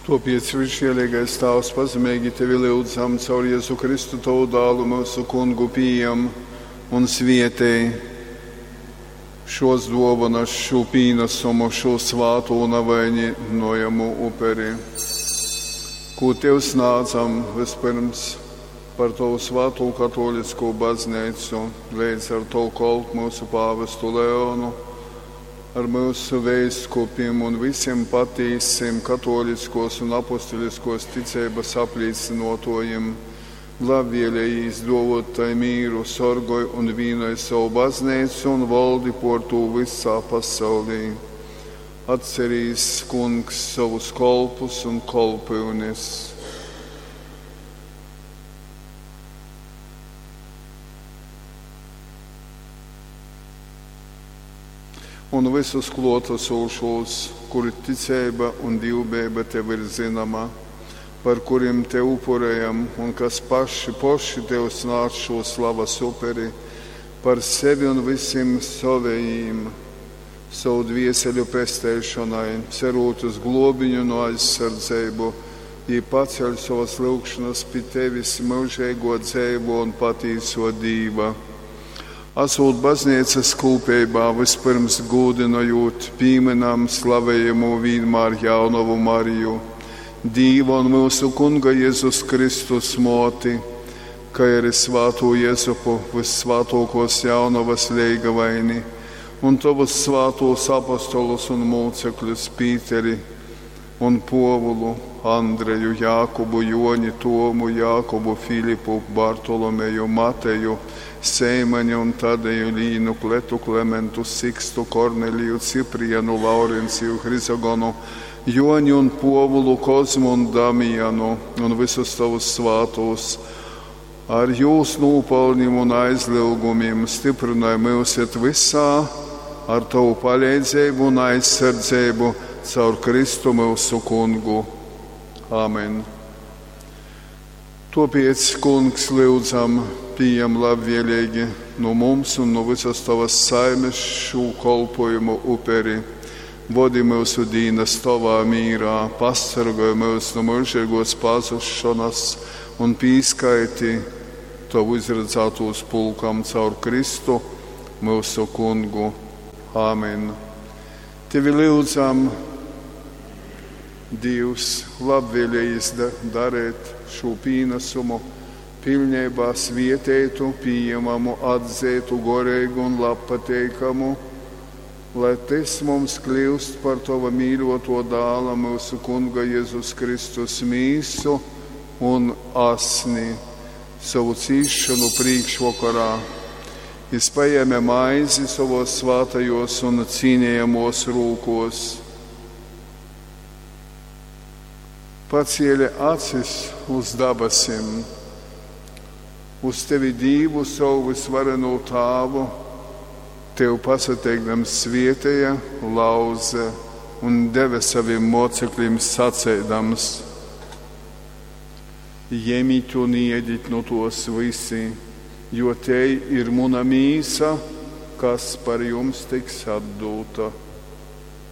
Tuopiec, Visžieleigais Tāvs, pazemeigi Tevi lyudzam, caur Jezu Kristu Tovu Dālu, myusu Kungu, pījam un svietej šos duovonas, šū pīnasumu, šū svātū navainojamu uperi, kū Tev snādzam vyspyrms par Tovu svātū katōliskū bazneicu, leidz ar Tovu kolpu myusu pāvestu Leonu, ar myusu veiskupim un vysim patīsim katōliskos un apustuliskos ticeibas aplīcynuotuojim. Labvielejīs duovuot tai mīru, sorgoj un vīnoj sovu bazneicu un voldi puor tū vysā pasaulī. Atcerīs, Kungs, sovus kolpus un kolpyunis. Un vysus kluotasūšūs, kuru ticeiba un dīvbejeiba Tev ir zynoma, par kurim Tev upurejam un kas paši poši Tev snādz šū slavas uperi, par sevi un vysim sovejīm, sovu dvieseļu pesteišonai, cerūt uz gluobiņu nu aizsardzeibu, jī paceļ sovas lyugšonas pi Tevis, myužeiguo, dzeivuo un patīsuo Dīva. Asūt bazneicas kūpeibā, vyspyrms gūdynojūt, pīmynam slavejamū vīnmār jaunovu Mariju, Dīva un myusu Kunga Jezus Kristus mōti, kai arī svātū Jezupu, vyssvātōkōs jaunovas leigavaini, un tovus svātūs apostolus un mūcekļus Pīteri un Pōvulu, Andreju, Jākubu, Joni, Tomu, Jākubu, Filipu, Bartolomeju, Mateju, Seimani un Tadeju, Līnu, Kletu, Klementu, Sikstu, Korneliju, Ciprianu, Laurenciju, Hrizogonu, Joni un Pōvulu, Kozmu un Damijanu un vysus tovus svātūs. Ar jūs nūpalnim un aizlyugumim styprynoj myusit vysā ar tovu paleidzeibu un aizsardzeibu caur Kristu myusu Kungu. Āmen. Tuopiec, Kungs, lyudzam, pījam labvieleigi nu mums un nu vysas tovas saimes šū kolpojumu uperi. Vodi myusu dīnas tovā mīrā, pasargoj myus nu myužeigos pazušonas un pīskaiti tovu izradzātūs pulkam caur Kristu, myusu Kungu. Āmen. Tevi lyudzam, Dīvs, labvēlējis darēt šū pīnesumu, pilnībā svieteitu, pieņemamu, atzeitu, goreigu un labpateikamu, lai tys mums kļūst par Tova mīļoto dāla, myusu Kunga Jezus Kristus mīsu un asni, savu cīšanu prīkšvokorā. Jis paēma maizi sovos svātajos un cīnījamos rūkos, paciele acis uz dabasim, uz tevi Dīvu savu vysvarenū Tāvu, tev pasateikdams svietēja, lauze un deve saviem mocekļiem saceidams: Jemit un iedit nu tos visi, jo te ir muna mīsa, kas par jums tiks atdūta.